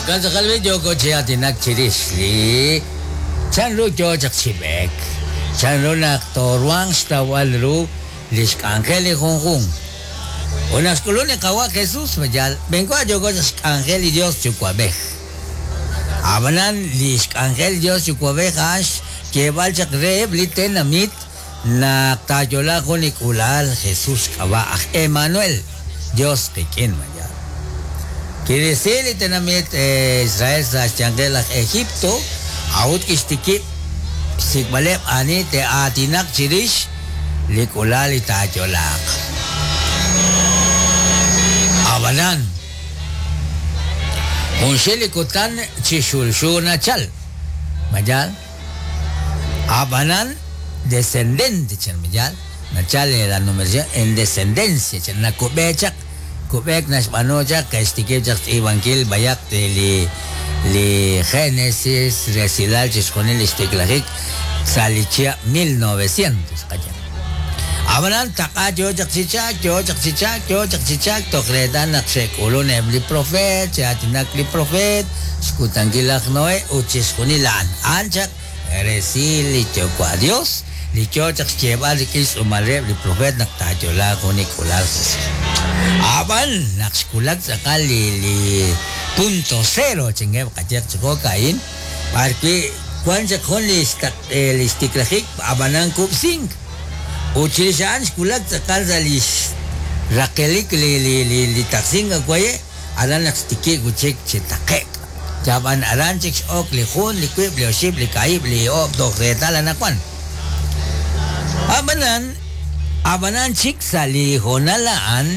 Jo'kan tz'aqal b'i' yooko chi aatinak chirix li chanru yo chaq chi b'eek, chanru naq tooruhanq xtawb'al ru li xk'anjel li junjunq. Ut naq xk'ulunk li Qawa' Jesús, ma yaal, b'enwa yooko chaq xk'anjel li Yos Yuwa'b'ej. Ab'anan li xk'anjel li Yos Yuwa'b'ej a'an xyeeb'al chaq reheb' li tenamit Naq taayo'laaq jun li k'uula'al, Jesus xk'ab'a' aj Emanuel, Dios qik'in, ma yaal? Kirisi li tenamit Israel sa' xyanqeb' laj Egipto, a'ut kixtikib' xsik'b'aleb' ani te'aatinaq chirix li k'uula'al li taayo'laaq. Ab'anan, junxil li kutan chi xulxu nachal, ma yaal? Ab'anan descendente chan ma yaal? Nachal la numeración en descendencia chan, nakub'e chaq, kub'eek naxb'aanu chaq ke'xtikib' chaq xtz'iib'ankil b'ayaq li li Genesis resilal chixjunil li xtiklajik sa' li chihab' 1900 qaye. Ab'anan taq'a yo chaq chi chalk, yo chaq chi chalk, yo chaq chi chalk toj reetal naq xe'k'ulun eb' li profeet, xe'aatinak li profeet, xkutankil laj Noe ut chixjunil a'an. A'an chaq resil li Yuwa' Dios li yo chaq xyeeb'al rik'in xtz'uumal reheb' li profeet naq taayo'laaq jun li k'uula'al Jesus. A'b'an naq xwulak tz'aqal li li punto cero chankeb' qayehaq chi jo'ka'in, B'ar wi' wank chaq jun li li xtiklajik ab'anan kub'sink. Ut chirix a'an xwulak tz'aqal sa' li xraqelik li li li li taqsink awaye', aran naq xtikib' wi' chik chi taqe'k. Ab'an aran chik x'ok li jun, li wiib', li oxib', li kaahib', li oob' toj reetal anaqwan. Ab'anan, ab'anan chik sa' li hoonal a'an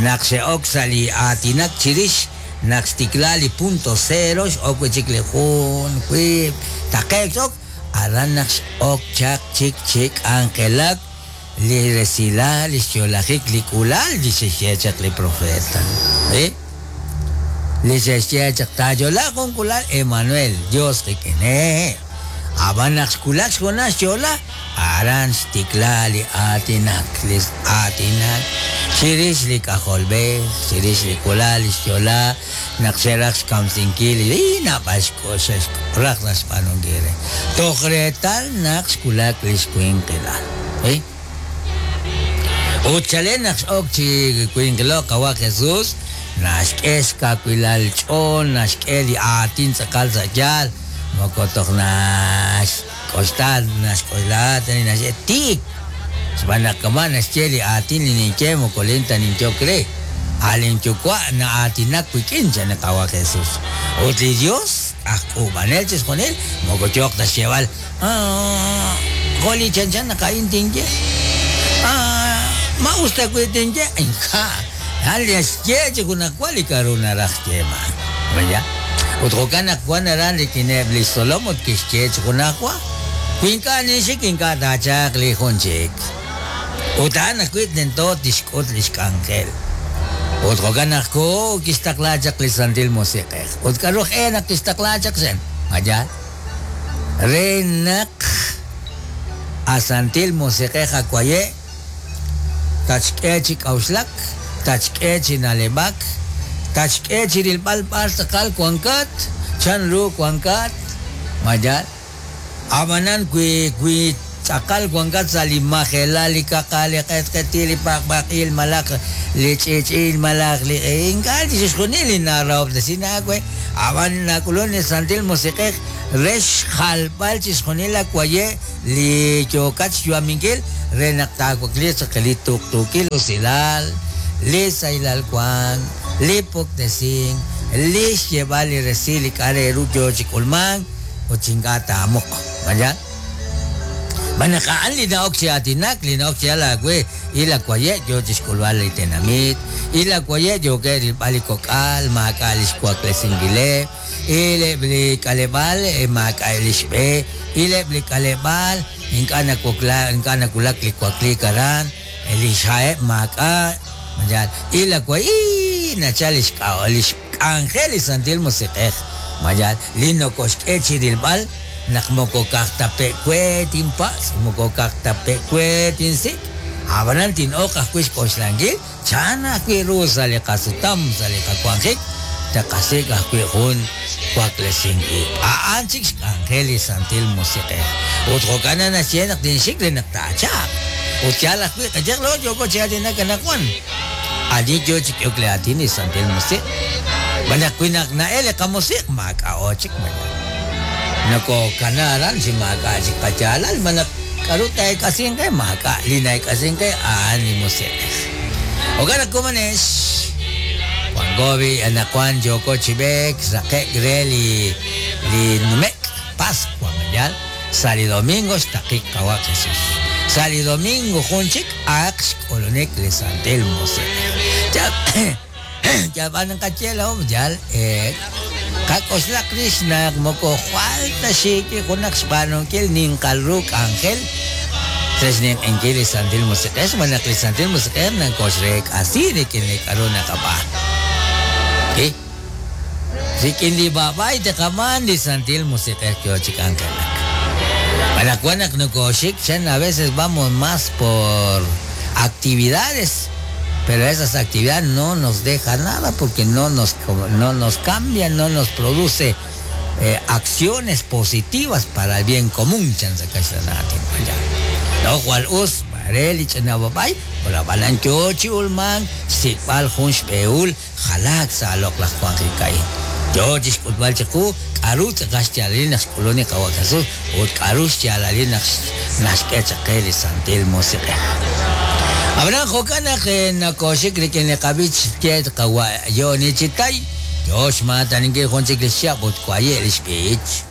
naq xe'ok sa' li aatinak chirix Naq xtikla li punto cero x'ok wi' chik li jun, wiib', taqe'k x'ok, aran naq x'ok chaq chik chi k'anjelak li resilal li xyo'lajik li k'uula'al li xe'xye chaq li profeta. Li li xe'xye chaq taayo'laaq jun k'uula'al Emanuel, Dios qik'in. Hehe'. Ab'an naq xwulak xhoonal xyo'la, Aran xtikla li aatinak, li aatinak chirix li K'ajolb'ej, chirix li k'uula'al li xyo'la naq xe'raj xkamsinkil li naab'al xe'raj raj xb'aanunkil re, toj reetal naq xwulak li xwinqilal. Ut chalen naq x'ok chi winqilo'k Qawa' Jesús, naxk'e xkawilal ch'ool, naxk'e li aatin tz'aqal sa' yaal, moko toj nax. K'oxla, naxk'oxla ta li naxye, Tiik! Xb'aan naq kama' naxye li aatin li ninye moko lin ta ninyok re, a' lin Yuwa' na'aatinak wik'in, chan li Qaawa' Jesus. Ut li Yos, aj k'uub'anel chixjunil, moko yooq ta xyeeb'al, Ah, jo' li chanchan naq a'in tinye. Ah, ma us ta wi' tinye? Ink'a'. A'an li naxye chi junajwa li k'a'ru naraj xyeeb'al. Maya. Ut jo'kan naq wan aran rik'ineb' lix tzolom ut kixye chi junajwa, Wi ink'a' ninxik ink'a' taachalq li jun chik. Ut a'an ajwi' tento tixk'ut lix k'anjel. Ut jo'kan naq koho kixtaqla chaq li Santil Musiq'ej. Ut k'a'ru aj-e naq kixtaqla chaq xen? Ma yaal? Re naq a Santil Musiq'ej awaye' Tatxk'e chi k'a'uxlak, tatxk'e chi na'leb'ak, tatxk'e chi rilb'al b'ar tz'aqal wankat, chan ru wankat, ma yaal? Ab'anan wi wi tz'aqal wankat sa' li majelal, li kaqal, li q'etq'etil, li paqpaq'il malaj li ch'i'ch'il malaj li ink'a' chixjunil li narahob'tesin aawe, ab'an nak'ulunk li Santil Musiq'ej re xjalb'al chixjunil laawaye' li yookat xyu'aminkil re naq taawakliiq chaq li tuqtuukil usilal, li sahilal wank, li puktesink, li xyeeb'al li resil li k'a' re ru yoo chi k'ulmank ut chi ink'a' taamuq. Ma yaal? Xb'aan naq a'an li na'ok chi aatinak, li na'ok chi yal aawe, il awaye' yoo chi xk'ulb'al li tenamit, il awaye' yookeb' rilb'al li kok'al, maak'a' li xwaklesinkileb', Il eb' li k'aleb'aal maak'a' li xb'e, il eb' li k'aleb'aal ink'a' nawokla, ink'a' nawulak li wakliik aran, li xha'eb' maak'a', yaal, il awa ii nachal li xk'a-, li xk'anjel li Santil Musiq'ej, ma yaal, li nokoxk'e chi rilb'al naq moko ka'aj ta pe' we tinpatz', moko ka'aj ta pe' we tinsik', ab'anan tin'oq ajwi' xk'oxlankil Chan ajwi' ru sa' li qasutam, sa' li qawanjik, Taqasik' ajwi' jun waklesink ib'. A'an chik xk'anjel li Santil Musiq'ej. Ut jo'kan naxye naq tinxik re naq taachalq. Ut yaal ajwi' qayehaq laa'o yooko chi aatinak anaqwan. Ani yo chi k'ehok li aatin li Santil Musiq'? Xb'aan naq wi naq na'el li qamusiq' maak'a'o chik mañana. Nokokana aran chi maak'a' chik qayaalal xb'aan naq k'aru taa'eek'asinq qe? Maak'a'. Li na'eek'asink qe a'an li Musiq'ej. Jo'kan naq komonex, wanko b'i' anaqwan yooko chi b'eek raqe'k re li li nume'k Pascua mañana. Sa' li domingo xtaqik Qawa' Jesús. Sa' li domingo jun chik a'aq xk'ulunik li Santil Musiq'ej. Yalb'an naqaye laa'o yal qak'oxlaq rix naq moko jwal ta xiikil junaq xb'aanunkil ninqal ru k'anjel re xninq'ehinkil li Santil Musiq'ej xb'aan naq li Santil Musiq'ej nakoxreek'asi rik'in li k'aru naqab'aanu. Rik'in li b'ab'ay taqab'aan li Santil Musiq'ej yo chi k'anjelak. Anaqwan naq nokooxik chan a veces vamos más por actividades, pero esas actividades no nos deja nada porque no nos, no nos cambia, no nos produce acciones positivas para el bien común chan sa kaxlan aatin. No jwal us re li ch'ina b'ab'ay, ab'anan yo chi ulmank xsik'b'al jun xb'ehul jalaak sa' loq'laj wanjik a'in. Yo chi xk'utb'al chiqu k'aru tz'aqal xyaalalil naq xk'ulun li Qawa' Jesús ut k'aru xyaalalil naq naxk'e chaq qe li Santil Musiq'ej. Ab'anan jo'kan naq nakooxik rik'in li qab'ich xye Qawa' Yoni Chitay, yo xmaataninkil jun chik li xchihab' ut waye' li xb'ich.